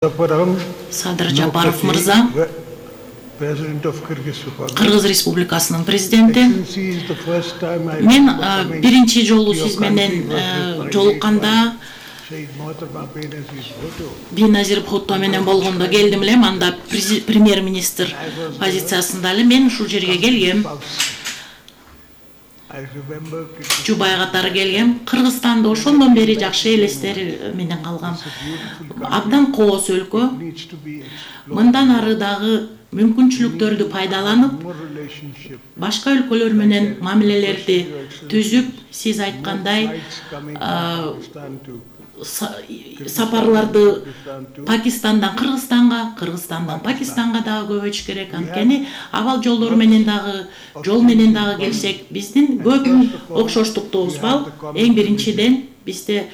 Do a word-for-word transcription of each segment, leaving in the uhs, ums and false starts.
Садыр Жапаров мырза, Кыргыз Республикасынын президенти. Мен биринчи жолу сиз менен жолукканда Беназир Бхутто менен болгондо келдим элем, анда премьер-министр позициясында эле мен ушул жерге келгем. Жубай катары келгем. Кыргызстанда ошондон бери жакшы элестер менен калгам. Абдан кооз өлкө. Мындан ары дагы мүмкүнчүлүктөрдү пайдаланып, башка өлкөлөр менен мамилелерди түзүп, сиз айткандай, сапарларды Пакистандан Кыргызстанга, Кыргызстандан Пакистанга дагы көбөйүш керек. Анткени абал жолдору менен дагы, жол менен дагы келсек, биздин көп окшоштуктубуз бар. Эң биринчиден бизде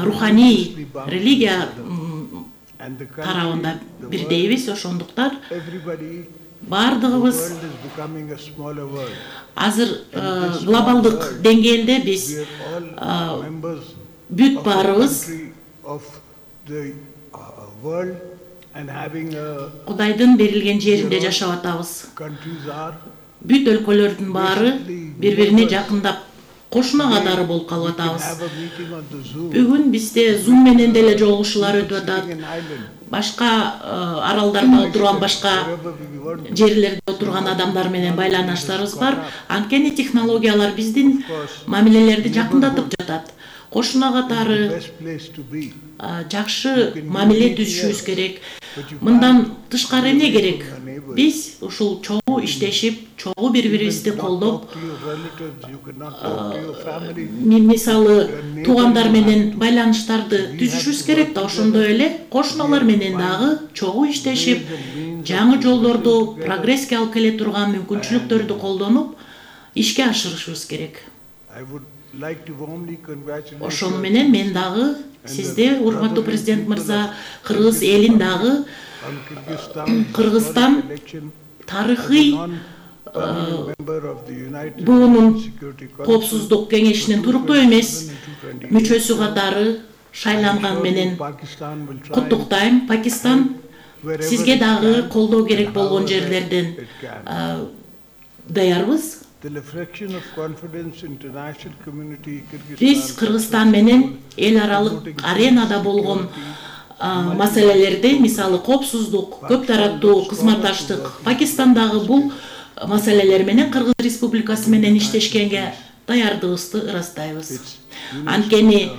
руханий религия тарабында бирдейбиз, ошондуктан бардыгыбыз азыр глобалдык деңгээлде биз бүт баарыбыз Кудайдын берилген жеринде жашап атабыз. Бүт өлкөлөрдүн баары бири-бирине жакындап кошуна катары болуп калып атабыз. Бүгүн бизде Zoom менен деле жолугушуулар өтүп атат. Башка аралдарда отурган, башка жерлерде отурган адамдар менен байланыштарыбыз бар. Анткени технологиялар биздин мамилелерди жакындатып жатат. Кошуна катары жакшы мамиле түзүшүбүз керек. Мындан тышкары эмне керек? Биз ушул чогуу иштешип, чогуу бири-бирибизди колдоп, мисалы туугандар менен байланыштарды түзүшүбүз керек да, ошондой эле кошуналар менен дагы чогуу иштешип, жаңы жолдорду прогресске алып келе турган мүмкүнчүлүктөрдү колдонуп, ишке ашырышыбыз керек. Ошону менен мен дагы сизде, урматтуу президент мырза, Кыргыз элин дагы Кыргызстан тарыхый буунун коопсуздук кеңешинин туруктуу эмес мүчөсү катары шайланган менен куттуктайм. Пакистан сизге дагы колдоо керек болгон жерлерден даярбыз. Биз Кыргызстан менен эл аралык аренада болгон маселелерди, мисалы коопсуздук, көп тараттуу кызматташтык, Пакистандагы бул маселелер менен Кыргыз Республикасы менен иштешкенге даярдыгыбызды ырастайбыз. Анткени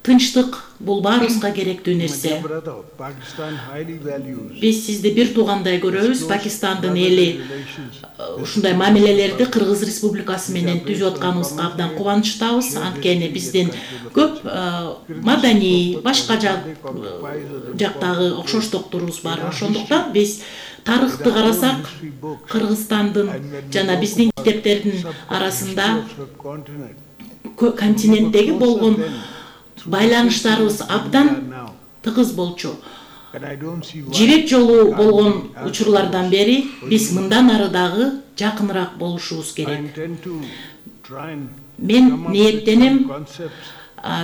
тынчтык бул баарыбызга керектүү нерсе. Биз сизди бир туугандай көрөбүз. Пакистандын эли ушундай мамилелерди Кыргыз Республикасы менен түзүп атканыбызга абдан кубанычтабыз. Анткени биздин көп маданий, башка жактагы окшоштуктурубуз бар. Ошондуктан биз тарыхты карасак, Кыргызстандын жана биздин китептердин арасында континенттеги болгон байланыштарыбыз абдан тыгыз болчу. Жибек жолу болгон учурлардан бери биз мындан ары дагы жакыныраак болушубуз керек. Мен ниеттенем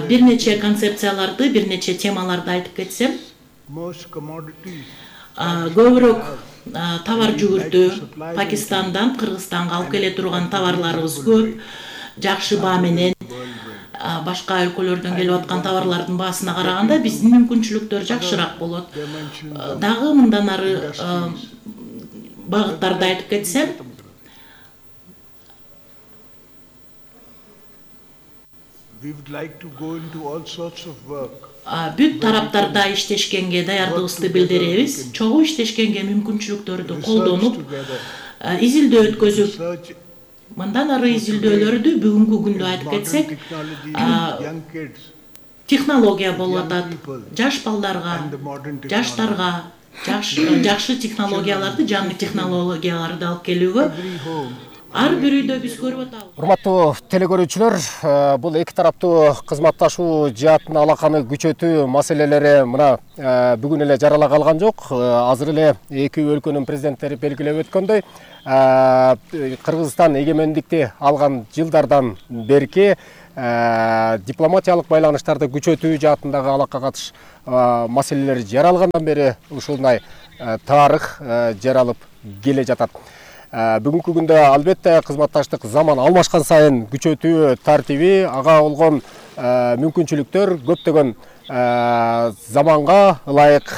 бир нече концепцияларды, бир нече темаларды айтып кетсем. Көбүрөөк товар жүгүртүү Пакистандан Кыргызстанга алып келе турган товарларыбыз көп. Жакшы баа менен башка өлкөлөрдөн келип аткан товарлардын баасына караганда биздин мүмкүнчүлүктөр жакшыраак болот. Дагы мындан ары багыттарды айтып кетсем, бүт тараптарда иштешкенге даярдыгыбызды билдиребиз. Чогуу иштешкенге мүмкүнчүлүктөрдү колдонуп, изилдөө өткөзүп, мындан ары изилдөөлөрдү бүгүнкү күндө айтып кетсек, технология болуп атат. Жаш балдарга, жаштарга жакшы технологияларды, жаңы технологияларды алып келүүгө ар бир үйдө биз көрүп атабыз. Урматтуу телекөрүүчүлөр, бул эки тараптуу кызматташуу жаатын алаканы күчөтүү маселелери мына бүгүн эле жарала калган жок. Азыр эле эки өлкөнүн президенттери белгилеп өткөндөй, Кыргызстан эгемендикти алган жылдардан берки дипломатиялык байланыштарды күчөтүү жаатындагы алакка катыш маселелери жаралгандан бери ушундай тарых жаралып келе жатат. Бүгүнкү күндө албетте кызматташтык заман алмашкан сайын күчөтүү тартиби, ага болгон мүмкүнчүлүктөр көптөгөн заманга ылайык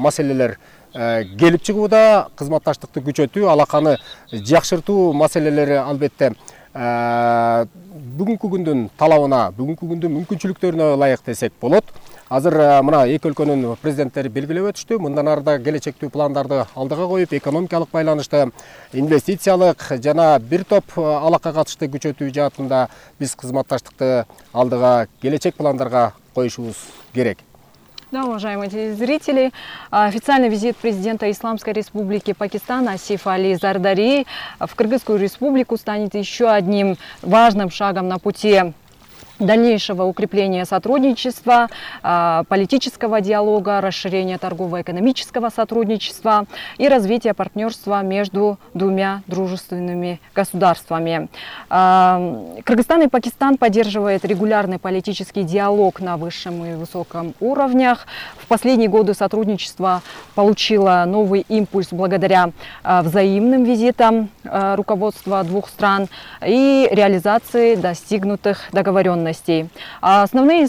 маселелер келип чыгууда. Кызматташтыкты күчөтүү, алаканы жакшыртуу маселелери албетте бүгүнкү күндүн талабына, бүгүнкү күндүн мүмкүнчүлүктөрүнө ылайык десек болот. Азыр мына эки өлкөнүн президенттери белгилеп өтүштү. Мындан арда келечектүү пландарды алдыга коюп, экономикалык байланышты, инвестициялык жана бир топ алакка катышты күчөтүү жаатында биз кызматташтыкты алдыга келечек пландарга коюшубуз керек. Да, уважаемые телезрители, официальный визит президента Исламской Республики Пакистан Асифа Али Зардари в Кыргызскую Республику станет еще одним важным шагом на пути дальнейшего укрепления сотрудничества, политического диалога, расширения торгово-экономического сотрудничества и развития партнерства между двумя дружественными государствами. Кыргызстан и Пакистан поддерживают регулярный политический диалог на высшем и высоком уровнях. В последние годы сотрудничество получило новый импульс благодаря взаимным визитам руководства двух стран и реализации достигнутых договоренностей. Основные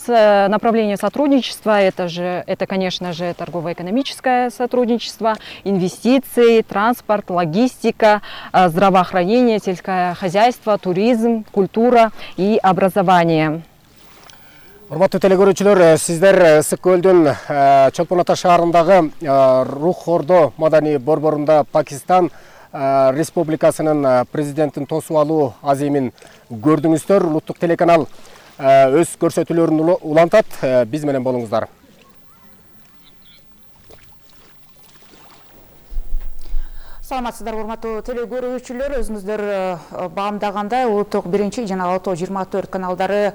направления сотрудничества это, же, это, конечно же, торгово-экономическое сотрудничество, инвестиции, транспорт, логистика, здравоохранение, сельское хозяйство, туризм, культура и образование. Урматтуу телекөрүүчүлөр, сиздер Ысык көлдүн Чолпон Ата шаарындагы Рух Ордо маданий борборунда Пакистан Республикасынын президентин тосуп алуу азимин көрдүңүздөр. Улуттук телеканал өз көрсөтүүлөрүн улантат. Биз менен болуңуздар. Саламатсыздар, урматтуу телекөрүүчүлөр, өзүңүздөр баамдагандай улуттук биринчи жана Алтоо жыйырма төрт каналдары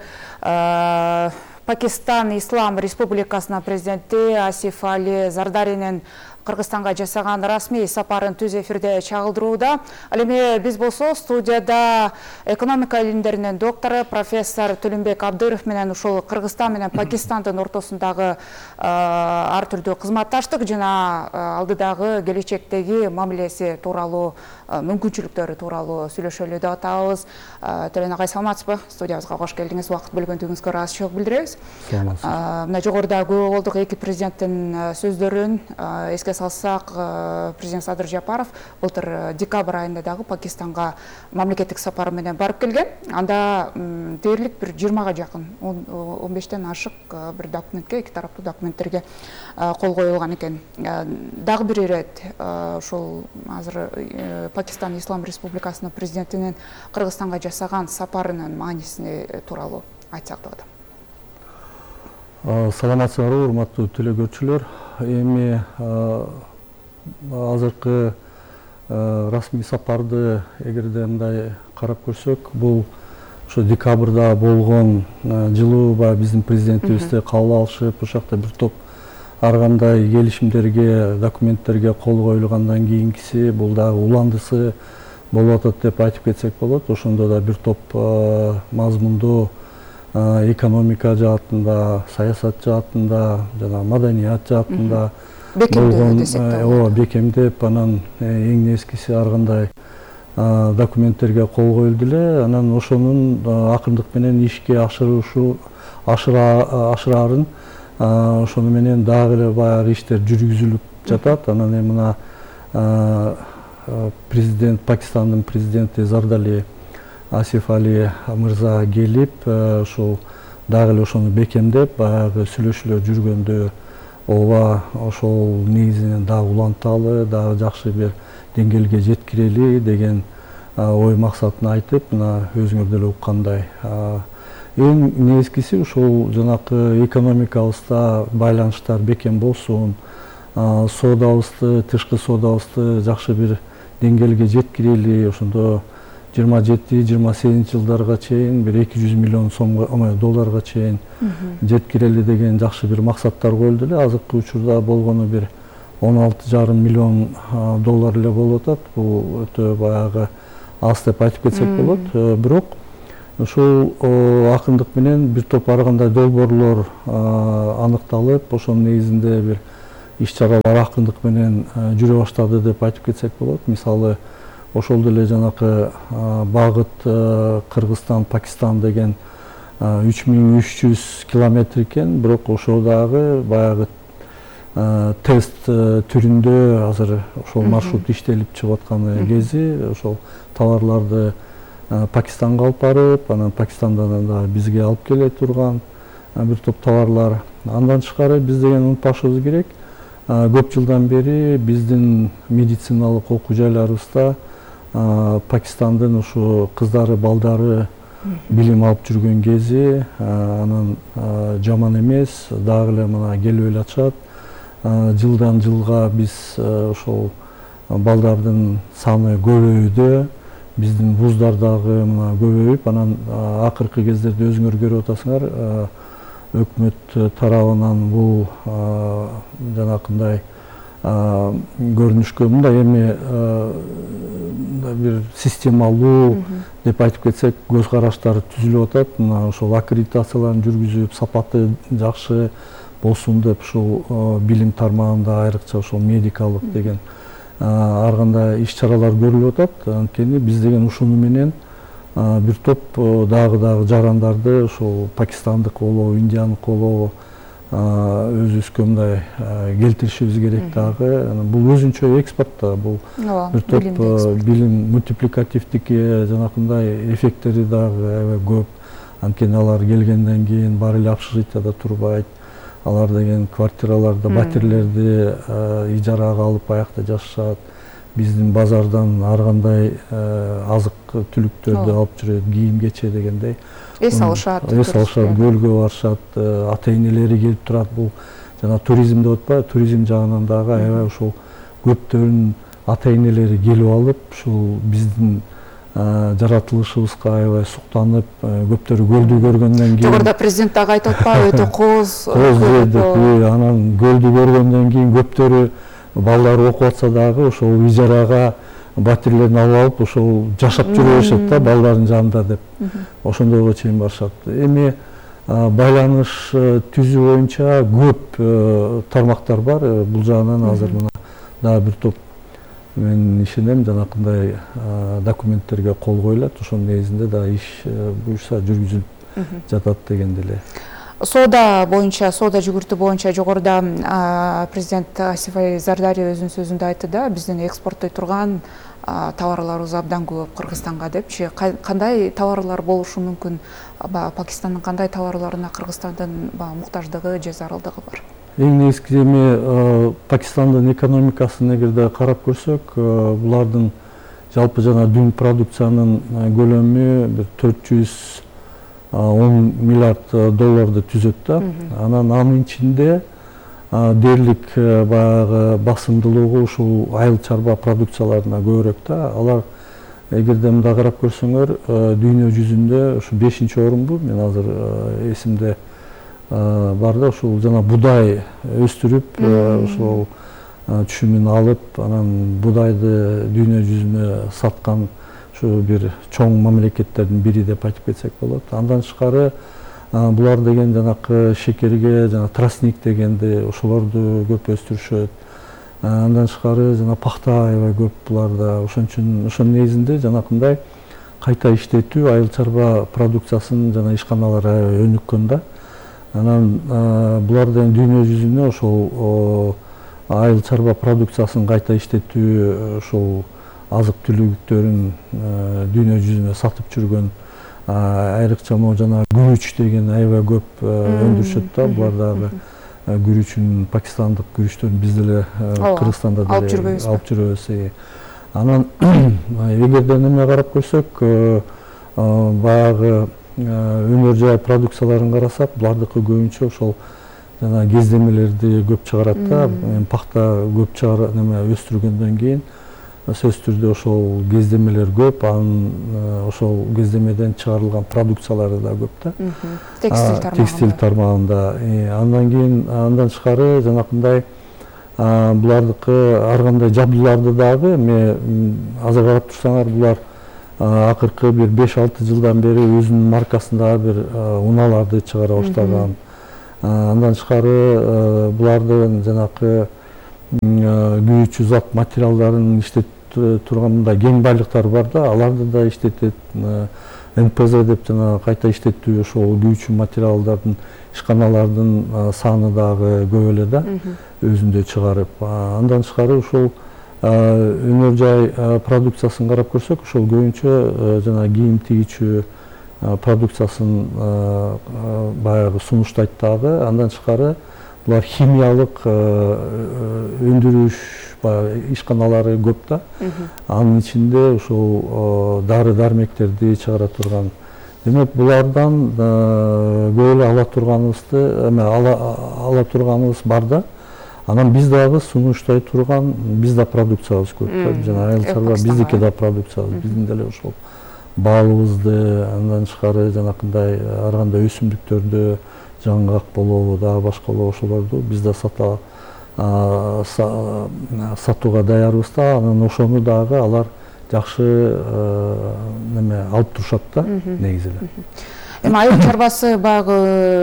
Пакистан Ислам Республикасынын президенти Асиф Али Зардаринин Кыргызстанга жасаган расмий сапарын түз эфирде чагылдырууда. Ал эми биз болсо студияда экономика илимдеринин доктору профессор Төлөнбек Абдыров менен ушул Кыргызстан менен Пакистандын ортосундагы ар түрдүү кызматташтык жана алдыдагы келечектеги мамилеси тууралуу, мүмкүнчүлүктөрү тууралуу сүйлөшөлү деп атабыз. Төлөн агай, саламатсызбы? Студиябызга кош келдиңиз. Убакыт бөлгөндүгүңүзгө ыраазычылык билдиребиз. Мына жогоруда көрүп болдук эки президенттин сөздөрүн. Эске салсак, президент Садыр Жапаров былтыр декабрь айында дагы Пакистанга мамлекеттик сапары менен барып келген. Анда дээрлик бир жыйырмага жакын, он бештен ашык бир документке, эки тараптуу документтерге кол коюлган экен. Дагы бир ирет ушул азыр Пакистан Ислам Республикасынын президентинин Кыргызстанга жасаган сапарынын маанисини тууралуу айтсак деп атам. Саламатсыздарбы, урматтуу телекөрүүчүлөр. Эми азыркы расмий сапарды эгерде мындай карап көрсөк, бул ошо декабрда болгон жылуу баягы биздин президентибизди кабыл алышып, ошол жакта бир топ ар кандай келишимдерге, документтерге кол коюлгандан кийинкиси, бул дагы уландысы болуп атат деп айтып кетсек болот. Ошондо да бир топ мазмундуу экономика жаатында, саясат жаатында жана маданият жаатында болгон бекемдеп, анан эң нескиси ар кандай документтерге кол коюлду эле. Анан ошонун акырындык менен ишке ашырышы ашыраарын, ошону менен дагы эле баягы иштер жүргүзүлүп жатат. Анан эми мына президент, Пакистандын президенти Зардали Асиф Али мырза келип, ошол дагы эле ошону бекемдеп, баягы сүйлөшүүлөр жүргөндө ооба ошол негизинен дагы уланталы, дагы жакшы бир деңгээлге жеткирели деген ой максатын айтып, мына өзүңөр деле уккандай. Эң негизгиси ушул жанакы экономикабызда байланыштар бекем болсун, соодабызды, тышкы соодабызды жакшы бир деңгээлге жеткирели, ошондо жыйырма жети жыйырма сегизинчи жылдарга чейин бир эки жүз миллион сомго, долларга чейин жеткирели деген жакшы бир максаттар коюлду эле. Азыркы учурда болгону бир он алты жарым миллион доллар эле болуп атат. Бул өтө баягы аз деп айтып кетсек болот. Бирок ушул акындык менен бир топ ар кандай долбоорлор аныкталып, ошонун негизинде бир иш-чаралар акындык менен жүрө баштады деп айтып кетсек болот. Мисалы, ошол деле жанакы багыт Кыргызстан Пакистан деген үч миң үч жүз километр экен, бирок ошол дагы баягы тест түрүндө азыр ошол маршрут иштелип чыгып аткан кези ошол товарларды Пакистанга алып барып, анан Пакистандан дагы бизге алып келе турган бир топ товарлар. Андан тышкары биз деген унутпашыбыз керек, көп жылдан бери биздин медициналык окуу жайларыбызда Пакистандын ушу кыздары, балдары билим алып жүргөн кези, анан жаман эмес, дагы эле мына келип эле атышат. Жылдан жылга биз ошол балдардын саны көбөйүүдө, биздин вуздар дагы мына көбөйүп, анан акыркы кездерде өзүңөр көрүп атасыңар, өкмөт тарабынан бул жанакындай көрүнүшкө мындай эми бир системалуу деп айтып кетсек көз караштар түзүлүп атат. Мына ошол аккредитацияларын жүргүзүп, сапаты жакшы болсун деп ушул билим тармагында айрыкча ошол медикалык деген ар кандай иш-чаралар көрүлүп атат. Анткени биз деген ушуну менен бир топ дагы дагы жарандарды ошол пакистандык болобу, индиялык болобу өзүбүзгө мындай келтиришибиз керек дагы. Бул өзүнчө экспорт да, бул бир топ билим мультипликативдики жанакындай эффекттери дагы аябай көп. Анткени алар келгенден кийин баары эле общежитияда турбайт. Алар деген квартираларды, батирлерди ижарага алып аякта жашашат. Биздин базардан ар кандай азык түлүктөрдү алып жүрөт, кийим кече дегендей. Эс алышат. Эс алышат, көлгө барышат, ата-энелери келип турат. Бул жана туризм деп атпайбы, туризм жагынан дагы аябай ошол көптөрүн ата-энелери келип алып, ушул биздин жаратылышыбызга аябай суктанып, көптөрү көлдү көргөндөн кийин. Жогоруда президент дагы айтып атпайбы, өтө кооз. Кооз деп, анан көлдү көргөндөн кийин көптөрү балдары окуп атса дагы ошол ижарага батирлерин алып алып ошол жашап жүрө беришет да балдардын жанында деп. Ошондойго чейин барышат. Эми байланыш түзүү боюнча көп тармактар бар. Бул жагынан азыр мына дагы бир топ мен ишенем жанакындай документтерге кол коюлат. Ошонун негизинде дагы иш буюрса жүргүзүлүп жатат дегенде эле. Соода боюнча, соода жүгүртүү боюнча жогоруда президент Асиф Али Зардари өзүнүн сөзүндө айтты да, биздин экспорттой турган товарларыбыз абдан көп Кыргызстанга депчи. Кандай товарлар болушу мүмкүн? Пакистандын кандай товарларына Кыргызстандын муктаждыгы же зарылдыгы бар? Эң негизгиси эми Пакистандын экономикасын эгерде карап көрсөк, булардын жалпы жана дүң продукциянын көлөмү бир төрт жүз он миллиард долларды түзөт да. Анан анын ичинде дээрлик баягы басымдуулугу ушул айыл чарба продукцияларына көбүрөөк да. Алар эгерде мындай карап көрсөңөр, дүйнө жүзүндө ушу бешинчи орунду, мен азыр эсимде бар да, ушул жана будай өстүрүп, ошол түшүмүн алып, анан будайды дүйнө жүзүнө саткан ушу бир чоң мамлекеттердин бири деп айтып кетсек болот. Андан тышкары булар деген жанакы шекерге, жана тростник дегенди ошолорду көп өстүрүшөт. Андан тышкары жана пахта аябай көп буларда. Ошон үчүн ошонун негизинде жанакындай кайта иштетүү айыл чарба продукциясын жана ишканалар аябай өнүккөн да. Анан булар деген дүйнө жүзүнө ошол айыл чарба продукциясын кайта иштетүү, ошол азык түлүктөрүн дүйнө жүзүнө сатып жүргөн, айрыкча могу жана күрүч деген аябай көп өндүрүшөт да. Булар дагы күрүчүн, пакистандык күрүчтөрүн биз деле Кыргызстанда деле алып жүрөбүз. Анан эгерден эме карап көрсөк, баягы өнөр жай продукцияларын карасак, булардыкы көбүнчө ошол жана кездемелерди көп чыгарат да. Пахта көп чыгарат, неме өстүргөндөн кийин сөзсүз түрдө ошол кездемелер көп, анын ошол кездемеден чыгарылган продукциялары да көп да. Текстиль тармагында. Текстиль тармагында. Андан кийин андан тышкары жанакындай булардыкы ар кандай жабдууларды дагы, эми азыр карап турсаңар, булар акыркы бир беш алты жылдан бери өзүнүн маркасындагы бир унааларды чыгара баштаган. Андан тышкары булардын жанакы күйүүчү зат материалдарын иштетип турган мындай кең байлыктар бар да, аларды да иштетет. эн пэ зэ деп жана кайта иштетүү ошол күйүүчү материалдардын ишканалардын саны дагы көп эле да, өзүндө чыгарып. Андан тышкары ушул өнөр жай продукциясын карап көрсөк, ошол көбүнчө жана кийим тигичүү продукциясын баягы сунуштайт дагы. Андан тышкары булар химиялык өндүрүш ишканалары көп да. Анын ичинде ушул дары дармектерди чыгара турган. Демек булардан көп эле ала турганыбызды, эме ала турганыбыз бар да. Анан биз дагы сунуштай турган, биз да продукциябыз көп да. Жана айыл чарба биздики да продукциябыз. Биздин деле ошол балыбызды, андан тышкары жанакындай ар кандай өсүмдүктөрдү, жаңгак болобу, дагы башка болобу ошолорду биз да сата сатууга даярбыз да. Анан ошону дагы алар жакшы неме алып турушат да, негизи эле. Эми айыл чарбасы баягы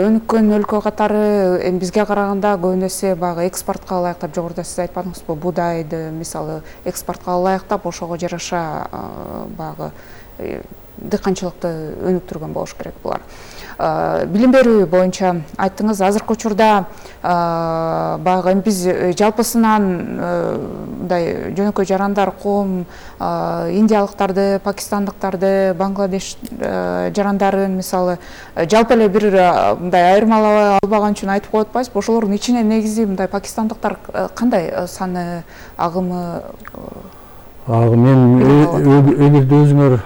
өнүккөн өлкө катары эми бизге караганда көбүнесе баягы экспортко ылайыктап, жогоруда сиз айтпадыңызбы, буудайды мисалы экспортко ылайыктап, ошого жараша баягы дыйканчылыкты өнүктүргөн болуш керек булар. Билим берүү боюнча айттыңыз, азыркы учурда баягы биз жалпысынан мындай жөнөкөй жарандар коом индиялыктарды, пакистандыктарды, Бангладеш жарандарын мисалы жалпы эле бир мындай айырмалабай албаган үчүн айтып коет атпайсызбы? Ошолордун ичинен негизи мындай пакистандыктар кандай саны, агымы? Мен эгерде өзүңөр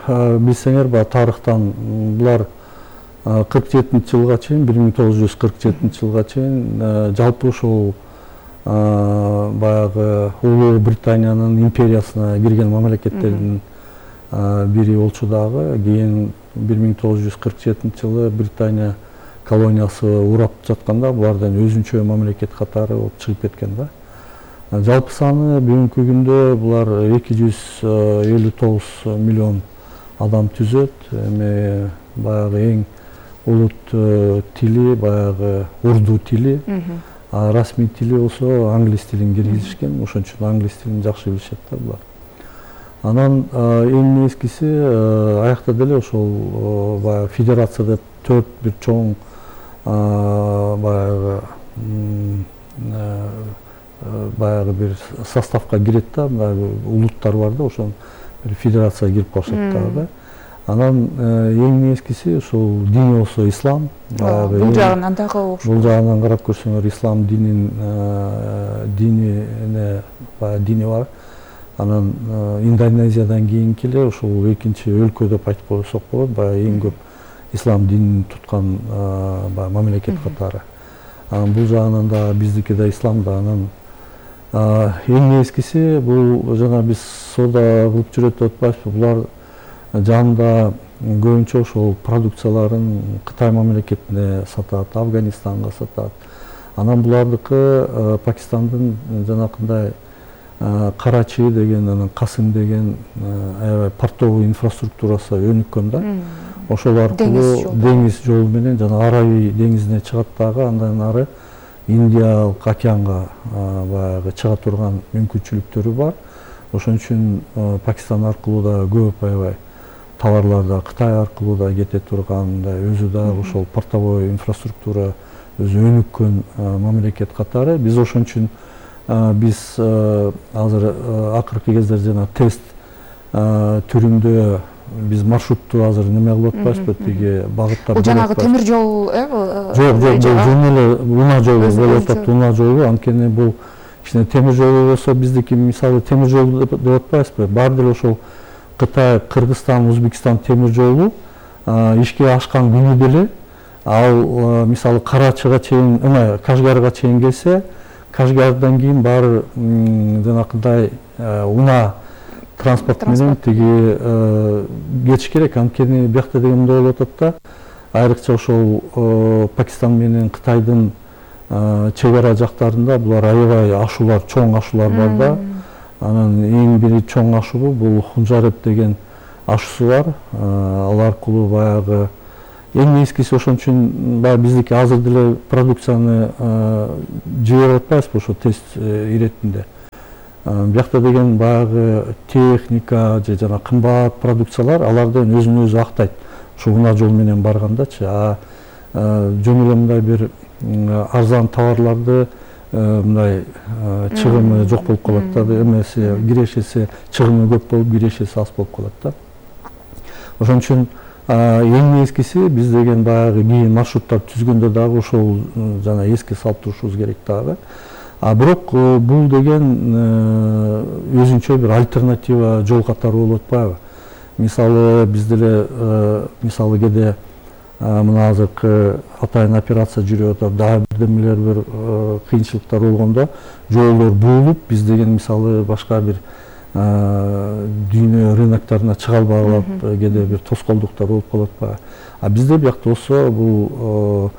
билсеңер, баягы тарыхтан булар кырк жетинчи жылга чейин, бир миң тогуз жүз кырк жетинчи жылга чейин жалпы ушул баягы Улуу Британиянын империясына кирген мамлекеттердин бири болчу дагы. Кийин бир миң тогуз жүз кырк жетинчи жылы Британия колониясы урап жатканда булардан өзүнчө мамлекет катары болуп чыгып кеткен да. Жалпы саны бүгүнкү күндө булар эки жүз элүү тогуз миллион адам түзөт. Эми баягы эң улут тили баягы урду тили, а расмий тили болсо англис тилин киргизишкен. Ошон үчүн англис тилин жакшы билишет да булар. Анан эң нескиси аякта деле ошол баягы федерация деп төрт бир чоң баягы баягы бир составка кирет да, улуттар бар да, ошон бир федерацияга кирип калышат дагы. Анан эң нескиси ошол дини болсо ислам. Бул жагынан дагы окшош. Бул жагынан карап көрсөңөр, ислам динин динине баягы дини бар. Анан Индонезиядан кийинки эле ошол экинчи өлкө деп айтып койсок болот, баягы эң көп ислам динин туткан баягы мамлекет катары. Анан бул жагынан да биздики да ислам да. Анан эң нескиси бул жана биз соода кылып жүрөт деп атпайбызбы, булар жанында көбүнчө ошол продукцияларын Кытай мамлекетине сатат, Афганистанга сатат. Анан булардыкы Пакистандын жанакындай Карачи деген, анан Касым деген аябай портовый инфраструктурасы өнүккөн да. Ошол аркылуу деңиз жолу менен жана Аравий деңизине чыгат дагы, андан ары Индиялык океанга баягы чыга турган мүмкүнчүлүктөрү бар. Ошон үчүн Пакистан аркылуу да көп аябай товарлар да Кытай аркылуу да кете турган, өзү да ошол портовой инфраструктура өзү өнүккөн мамлекет катары. Биз ошон үчүн биз азыр акыркы кездер жана тест түрүндө биз маршрутту азыр неме кылып атпайбызбы, тиги багыттап. Бул жанагы темир жол, э? Жок, жок, бул жөн эле унаа жолу болуп атат, унаа жолу. Анткени бул кичине темир жолу болсо биздики мисалы темир жол деп атпайбызбы? Бар деле ошол Кытай, Кыргызстан, Өзбекстан темир жолу ишке ашкан күнү деле ал мисалы Карачыга чейин, эме Кашгарга чейин келсе, Кашгардан кийин баары жанакындай унаа транспорт менен тиги кетиш керек. Анткени биякта деген мындай болуп атат да, айрыкча ошол Пакистан менен Кытайдын чек ара жактарында булар аябай ашуулар, чоң ашуулар бар да. Анан эң бири чоң ашуу бул Хунжареп деген ашуусу бар. Ал аркылуу баягы эң эскиси ошон үчүн баягы биздики азыр деле продукцияны жиберип атпайбызбы ошо тест иретинде. Биякта деген баягы техника же жана кымбат продукциялар алардын өзүн өзү актайт. Ошо унаа жол менен баргандачы. А жөн эле мындай бир арзан товарларды мындай чыгымы жок болуп калат да, эмеси кирешеси чыгымы көп болуп, кирешеси аз болуп калат да. Ошон үчүн эң эскиси биз деген баягы кийин маршруттар түзгөндө дагы ошол жана эске салып турушубуз керек дагы. А бирок бул деген өзүнчө бир альтернатива жол катары болуп атпайбы? Мисалы биз деле мисалы кээде мына азыркы атайын операция жүрүп атат, дагы бирдемелер бир кыйынчылыктар болгондо жолдор буулуп, биз деген мисалы башка бир дүйнө рыноктарына чыга албай калып, кээде бир тоскоолдуктар болуп калып атпайбы? А бизде биякта болсо бул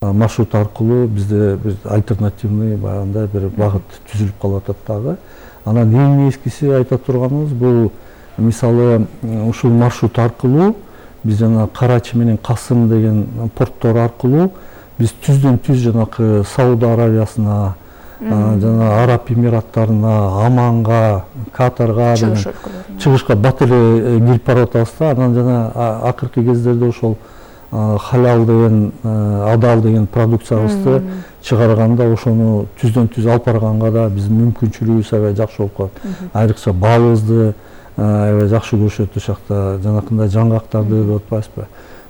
маршрут аркылуу бизде бир альтернативный баягындай бир багыт түзүлүп калып атат дагы. Анан эң эскиси айта турганыбыз бул мисалы ушул маршрут аркылуу биз жана Карачи менен Касым деген порттор аркылуу биз түздөн түз жанакы Сауд Аравиясына, жана Араб Эмираттарына, Аманга, Катарга, чыгышка бат эле кирип барып атабыз да. Анан жана акыркы кездерде ошол халал деген, адал деген продукциябызды чыгарганда ошону түздөн түз алып барганга да биздин мүмкүнчүлүгүбүз аябай жакшы болуп калат. Айрыкча балыбызды аябай жакшы көрүшөт ошакта, жанакындай жаңгактарды деп атпайбызбы?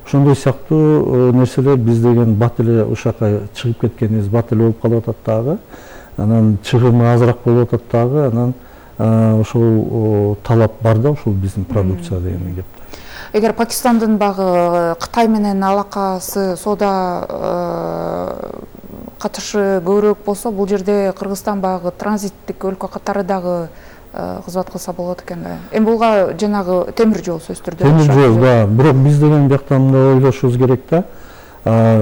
Ошондой сыяктуу нерселер биз деген бат эле ошака чыгып кеткенибиз бат эле болуп калып атат дагы. Анан чыгымы азыраак болуп атат дагы. Анан ошол талап бар да ошол биздин продукция деген кеп. Эгер Пакистандын багы Кытай менен алакасы, соода катышы көбүрөөк болсо, бул жерде Кыргызстан багы транзиттик өлкө катары дагы кызмат кылса болот экен да. Эми булга жанагы темир жол сөзсүз түрдө. Темир жол, да. Бирок биз деген биякта мындай ойлошубуз керек да.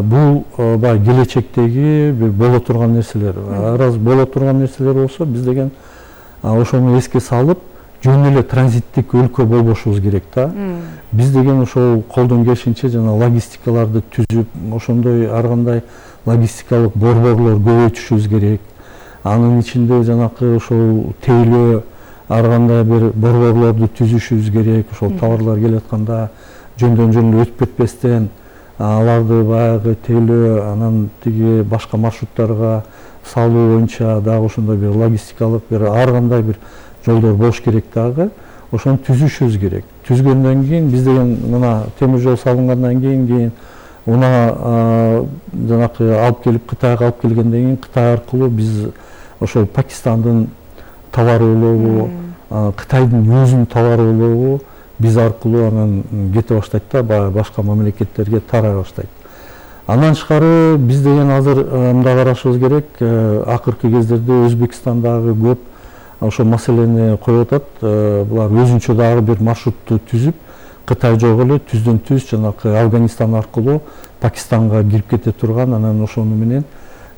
Бул баягы келечектеги бир боло турган нерселер. Раз боло турган нерселер болсо, биз деген ошону эске салып, жөн эле транзиттик өлкө болбошубуз керек да. Биз деген ошол колдон келишинче жана логистикаларды түзүп, ошондой ар кандай логистикалык борборлор көбөйтүшүбүз керек. Анын ичинде жанакы ошол тейлөө ар кандай бир борборлорду түзүшүбүз керек. Ошол товарлар келатканда жөндөн жөн өтүп кетпестен аларды баягы тейлөө, анан тиги башка маршруттарга салуу боюнча дагы ошондой бир логистикалык бир ар кандай бир жолдор болуш керек дагы. Ошону түзүшүбүз керек. Түзгөндөн кийин биз деген мына темир жол салынгандан кийин кийин уна жанакы алып келип Кытайга алып келгенден кийин Кытай аркылуу биз ошол Пакистандын товары болобу, Кытайдын өзүнүн товары болобу биз аркылуу анан кете баштайт да, баягы башка мамлекеттерге тарай баштайт. Андан тышкары биз деген азыр мындай карашыбыз керек. Акыркы кездерде Өзбекстандагы көп ошол маселени коюп атат. Булар өзүнчө дагы бир маршрутту түзүп, Кытай жок эле түздөн түз жанакы Афганистан аркылуу Пакистанга кирип кете турган, анан ошону менен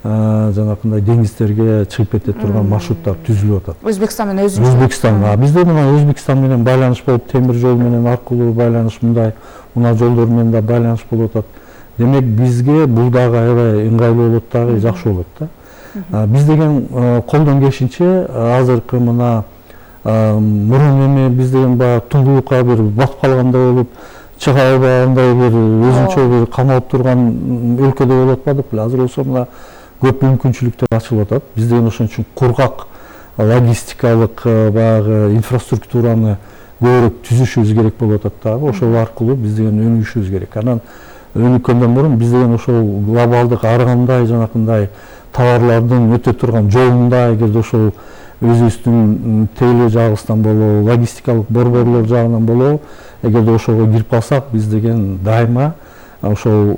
жанакындай деңиздерге чыгып кете турган маршруттар түзүлүп атат. Өзбекстан менен өзүнчө. Өзбекстан. Бизде мына Өзбекстан менен байланыш болуп, темир жол менен аркылуу байланыш, мындай унаа жолдор менен да байланыш болуп атат. Демек бизге бул дагы аябай ыңгайлуу болот дагы, жакшы болот да. Биз деген колдон келишинче азыркы мына мурун эми биз деген баягы туңгулукка бир батып калгандай болуп, чыга албагандай бир өзүнчө бир камалып турган өлкөдө болуп атпадык беле. Азыр болсо мына көп мүмкүнчүлүктөр ачылып атат. Биз деген ошон үчүн кургак логистикалык баягы инфраструктураны көбүрөөк түзүшүбүз керек болуп атат дагы. Ошол аркылуу биз деген өнүгүшүбүз керек. Анан өнүккөндөн мурун биз деген ошол глобалдык ар кандай жанакындай товарлардын өтө турган жолунда, эгерде ошол өзүбүздүн тейлөө жагыбыздан болобу, логистикалык борборлор жагынан болобу, эгерде ошого кирип калсак, биз деген дайыма ошол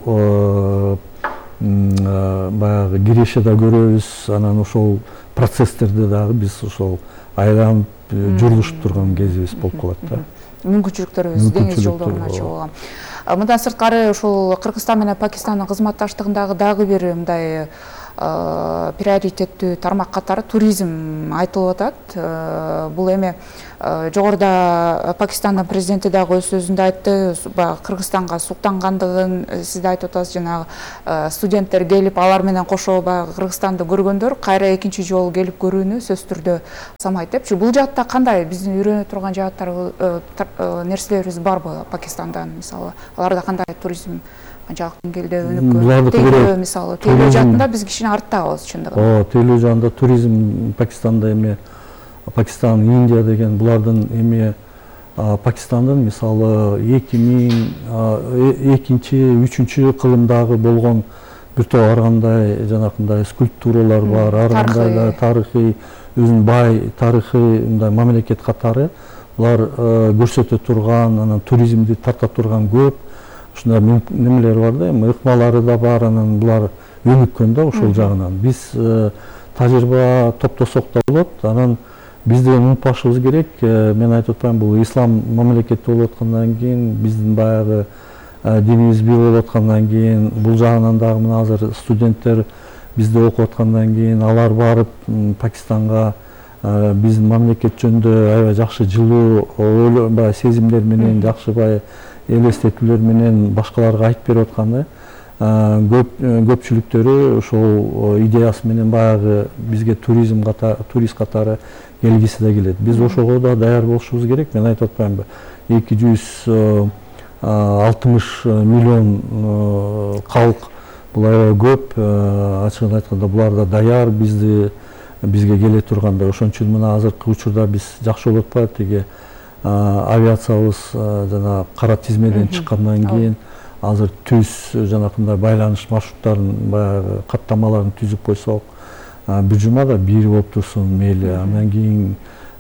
баягы киреше да көрөбүз, анан ошол процесстерде дагы биз ошол айланып журулушуп турган кезибиз болуп калат да. Мүмкүнчүлүктөрүбүз деңиз жолдорун ачып алган. Мындан сырткары ушул Кыргызстан менен Пакистандын кызматташтыгындагы дагы бир мындай приоритеттүү тармак катары туризм айтылып атат. Бул эми жогоруда Пакистандын президенти дагы өз сөзүндө айтты, баягы Кыргызстанга суктангандыгын сиз да айтып атасыз, жанагы студенттер келип алар менен кошо баягы Кыргызстанды көргөндөр кайра экинчи жолу келип көрүүнү сөзсүз түрдө самайт депчи. Бул жаатта кандай биздин үйрөнө турган жааттар нерселерибиз барбы Пакистандан, мисалы аларда кандай туризм канчалык деңгээлде өнүккөн? Тейлөө мисалы, тейлөө жаатында биз кичине арттабыз чындыгында. Ооба, тейлөө жаатында туризм Пакистанда эми Пакистан, Индия деген булардын эми Пакистандын мисалы эки миң экинчи, үчүнчү кылымдагы болгон бир топ ар кандай жанакындай скульптуралар бар, ар кандай да тарыхый, өзүнүн бай тарыхы мындай мамлекет катары булар көрсөтө турган, анан туризмди тарта турган көп ушундай немелер бар да, эми ыкмалары да бар, анан булар өнүккөн да ошол жагынан. Биз тажрыйба топтосок да болот, анан бизди унутпашыбыз керек. Мен айтып атпайм, бул ислам мамлекети болуп аткандан кийин, биздин баягы динибиз бир болуп аткандан кийин, бул жагынан дагы мына азыр студенттер бизде окуп аткандан кийин алар барып Пакистанга биздин мамлекет жөнүндө аябай жакшы жылуу баягы сезимдер менен, жакшы баягы элестетүүлөр менен башкаларга айтып берип аткан да. Көп көпчүлүктөрү ошол идеясы менен баягы бизге туризм катары, турист катары келгиси да келет. Биз ошого да даяр болушубуз керек. Мен айтып атпаймынбы, эки жүз алтымыш миллион калк, бул аябай көп. Ачыгын айтканда булар да даяр бизди бизге келе турганда. Ошон үчүн мына азыркы учурда биз жакшы болуп атпайбы, тиги авиациябыз жана кара тизмеден чыккандан кийин азыр түз жанакындай байланыш маршруттарын баягы каттамаларын түзүп койсок, бир жумада бир болуп турсун мейли. Андан кийин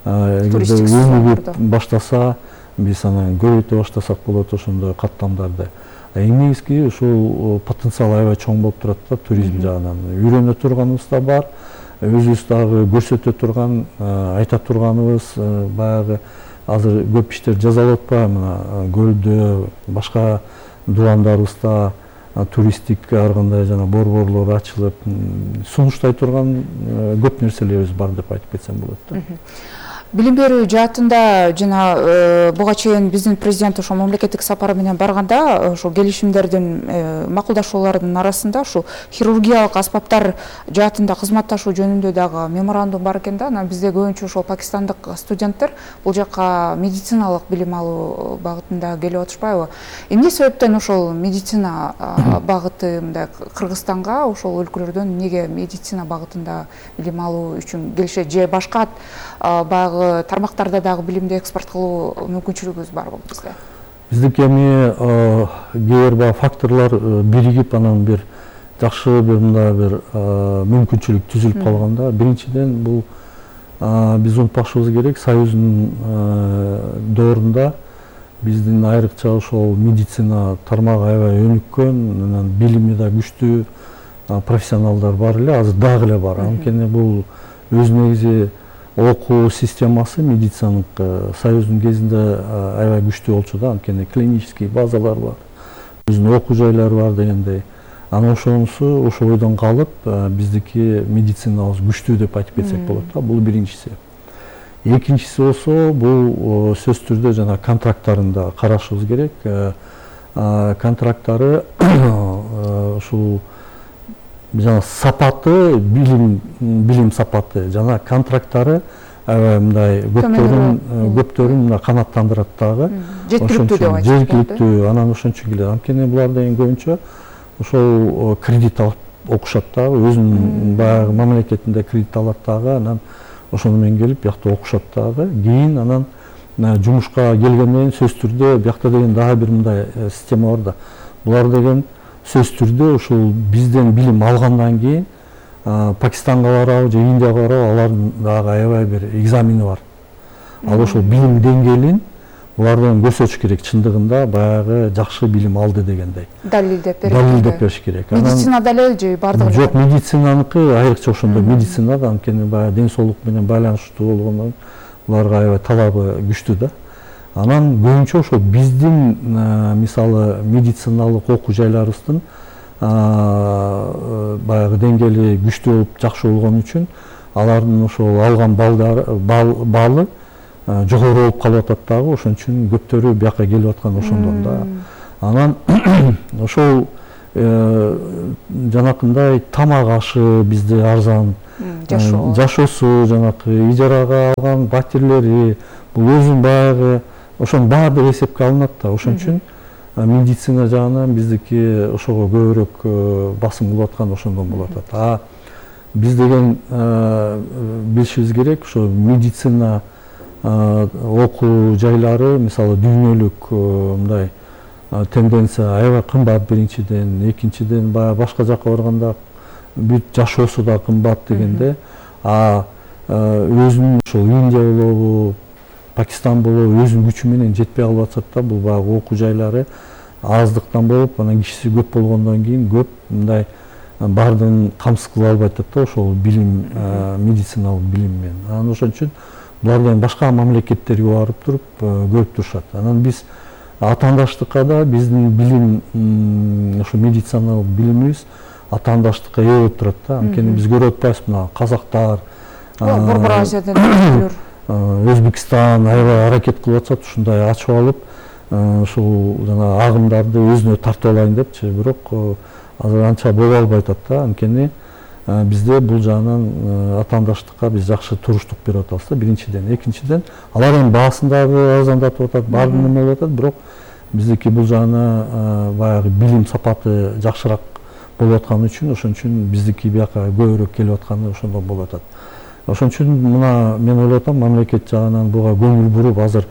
эгерде өнүгүп баштаса, биз анан көбөйтө баштасак болот ошондой каттамдарды. Эң негизги ушул потенциал аябай чоң болуп турат да туризм жагынан. Үйрөнө турганыбыз да бар, өзүбүз дагы көрсөтө турган, айта турганыбыз баягы азыр көп иштер жасалып атпайбы, мына көлдө, башка дубандарыбызда туристтик ар кандай жана борборлор ачылып, сунуштай турган көп нерселерибиз бар деп айтып кетсем болот да. Билим берүү жаатында жана буга чейин биздин президент ошо мамлекеттик сапары менен барганда ошо келишимдердин, макулдашуулардын арасында ушу хирургиялык аспаптар жаатында кызматташуу жөнүндө дагы меморандум бар экен да. Анан бизде көбүнчө ошо пакистандык студенттер бул жакка медициналык билим алуу багытында келип атышпайбы? Эмне себептен ошол медицина багыты мындай Кыргызстанга ошол өлкөлөрдөн эмнеге медицина багытында билим алуу үчүн келишет, же башка баягы тармактарда дагы билимди экспорт кылуу мүмкүнчүлүгүбүз барбы бизде? Биздики эми кээ бир баягы факторлор биригип анан бир жакшы бир мындай бир мүмкүнчүлүк түзүлүп калган да. Биринчиден бул биз унутпашыбыз керек, Союздун доорунда биздин айрыкча ошол медицина тармагы аябай өнүккөн, анан билими да күчтүү профессионалдар бар эле, азыр дагы эле бар. Анткени бул өз негизи окуу системасы медицинанык Союздун кезинде аябай күчтүү болчу да, анткени клинический базалар бар, өзүнүн окуу жайлары бар дегендей. Анан ошонусу ошол ойдон калып, биздики медицинабыз күчтүү деп айтып кетсек болот да. Бул биринчиси. Экинчиси болсо, бул сөзсүз түрдө жана контракттарын да карашыбыз керек. Контракттары ушул жана сапаты, билим билим сапаты жана контракттары аябай мындай көптөрүн көптөрүн мына канааттандырат дагы. Жеткиликтүү деп айтсак. Жеткиликтүү, анан ошончо келет. Анткени булар деген көбүнчө ошол кредит алып окушат дагы, өзүнүн баягы мамлекетинде кредит алат дагы, анан ошону менен келип биякта окушат дагы. Кийин анан жумушка келгенден сөзсүз түрдө биякта деген дагы бир мындай система бар да. Булар деген сөзсүз түрдө ушул бизден билим алгандан кийин Пакистанга барабы же Индияга барабы, алардын дагы аябай бир экзамени бар. Ал ошол билим деңгээлин булардан көрсөтүш керек, чындыгында баягы жакшы билим алды дегендей. Далилдеп бериш. Далилдеп бериш керек. Медицина далил же бардыгы? Жок, медицинаныкы айрыкча ошондой медицина да, анткени баягы ден соолук менен байланыштуу болгондон буларга аябай талабы күчтүү да. Анан көбүнчө ошо биздин мисалы медициналык окуу жайларыбыздын баягы деңгээли күчтүү болуп жакшы болгон үчүн алардын ошол алган баллы жогору болуп калып атат дагы, ошон үчүн көптөрү бияка келип аткан ошондон да. Анан ошол жанакындай тамак ашы бизде арзан, жашоосу, жанакы ижарага алган батирлери, бул өзүн баягы ошонун баардыгы эсепке алынат да. Ошон үчүн медицина жагынан биздики ошого көбүрөөк басым кылып аткан ошондон болуп атат. А биз деген билишибиз керек, ошо медицина окуу жайлары мисалы дүйнөлүк мындай тенденция аябай кымбат биринчиден, экинчиден баягы башка жака барганда бүт жашоосу да кымбат дегенде, а өзүнүн ошол Индия болобу, Пакистан болобу өзүнүн күчү менен жетпей калып атат да. Бул баягы окуу жайлары аздыктан болуп, анан кишиси көп болгондон кийин көп мындай бардыгын камсыз кыла албай атат да ошол билим, медициналык билим менен. Анан ошон үчүн булардан башка мамлекеттерге барып туруп көрүп турушат. Анан биз атаандаштыкка да биздин билим, ошо медициналык билимибиз атаандаштыкка ээ болуп турат да. Анткени биз көрүп атпайбызбы, мына казактар, Борбор Азиядан Өзбекстан аябай аракет кылып атат, ушундай ачып алып, ушул жана агымдарды өзүнө тартып алайын депчи, бирок азыр анча боло албай атат да. Анткени бизде бул жагынан атаандаштыкка биз жакшы туруштук берип атабыз да, биринчиден. Экинчиден, алар эми баасын дагы арзандатып атат, баардык неме болуп атат, бирок биздики бул жагына баягы билим сапаты жакшыраак болуп атканы үчүн, ошон үчүн биздики бияка көбүрөөк келип атканы ошондон болуп атат. Ошон үчүн мына мен ойлоп атам, мамлекет жагынан буга көңүл буруп, азыр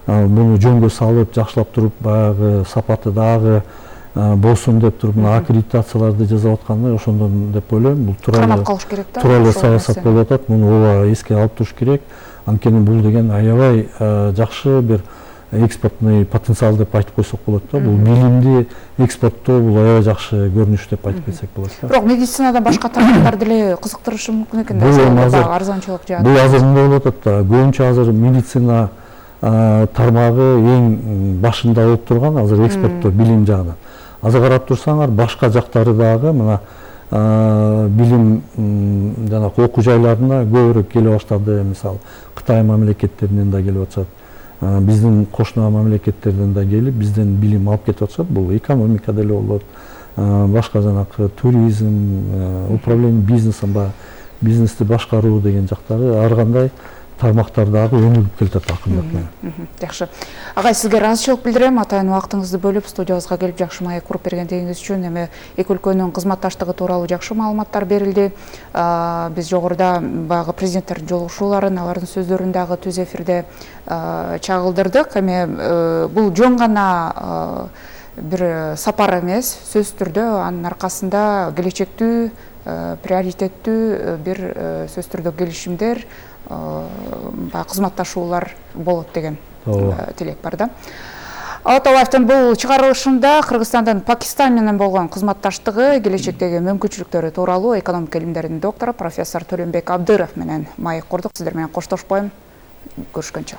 муну жөнгө салып, жакшылап туруп, баягы сапаты дагы болсун деп туруп, мына аккредитацияларды жасап атканы ошондон деп ойлойм. Бул тууралуу калыш керек да. Тууралуу саясат болуп атат. Муну ооба эске алып туруш керек. Анткени бул деген аябай жакшы бир экспортный потенциал деп айтып койсок болот да. Бул билимди экспорттоо бул аябай жакшы көрүнүш деп айтып кетсек болот да. Бирок медицинадан башка тармактар деле кызыктырышы мүмкүн экен да. Арзанчылык жааты. Бул азыр мындай болуп атат да. Көбүнчө азыр медицина тармагы эң башында болуп турган азыр экспорттоо билим жагынан. Азыр карап турсаңар, башка жактары дагы мына билим жана окуу жайларына көбүрөөк келе баштады. Мисалы Кытай мамлекеттеринен да келип атышат. Биздин кошуна мамлекеттерден да келип, бизден билим алып кетип атышат. Бул экономика деле болот. Башка жанакы туризм, управление бизнесин, бизнести башкаруу деген жактары ар кандай тармактар дагы өнүгүп келатат акырындап менен. Жакшы. Агай, сизге ыраазычылык билдирем. Атайын убактыңызды бөлүп студиябызга келип жакшы маек куруп бергендигиңиз үчүн. Эми эки өлкөнүн кызматташтыгы тууралуу жакшы маалыматтар берилди. Биз жогоруда баягы президенттердин жолугушууларын, алардын сөздөрүн дагы түз эфирде чагылдырдык. Эми бул жөн гана бир сапар эмес, сөзсүз түрдө анын аркасында келечектүү, приоритеттүү бир сөзсүз түрдө келишимдер, кызматташуулар болот деген тилек бар да. Алатаевдин бул чыгарылышында Кыргызстандын Пакистан менен болгон кызматташтыгы, келечектеги мүмкүнчүлүктөрү тууралуу экономика илимдеринин доктору профессор Төлөнбек Абдыров менен маек курдук. Сиздер менен коштошпойм. Көрүшкөнчө.